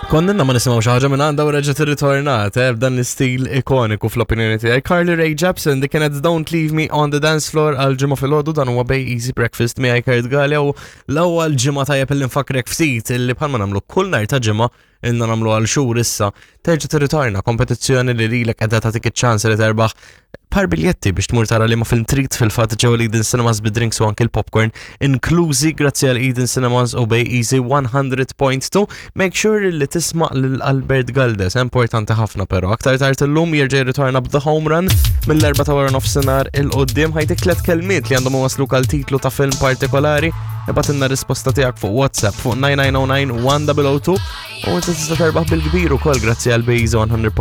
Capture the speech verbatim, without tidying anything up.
Konna ma nisimgħu xi ħaġa minn għandha u reġgħet irritornat, eh, b'dan l-istil ikoniku fl-opinjoni tiegħi. Carly Rae Jepsen, dik kienet "Don't Leave Me on the Dance Floor" għal Ġimgħa filgħodu. Dan huwa Bay Easy Breakfast miegħi, Kurt Galea, u l-ewwel ġimgħa tajjeb illi nfakrek ftit illi bħalma nagħmlu kull nhar ta' Ġimgħa, ilna nagħmlu għal xhur issa, terġa' tirritorna kompetizzjoni li lilek qiegħda tagħtik iċ-ċans li terbaħ par biljetti biex tmur tara li ma film trid fil-fatt ġewwa l-Eden Cinemas, bid-drinks u anke l-popcorn inklużi, grazzi għal Eden Cinemas u Bay Easy one hundred point two. Make sure li tisma' lil Albert Galdes, importanti ħafna però. Aktar tard illum jerġa' jirritorna b'The Home Run mill-erba ta' wara nofsinhar 'il quddiem. Ħa jtik tliet kelmiet li għandhom wasluk għal titlu ta' film partikolari. Ibgħatilna risposta tiegħek fuq WhatsApp fuq nine nine zero nine one zero zero two u inti tista' terbaħ bil-kbir ukoll grazzi għal Bay Easy one hundred.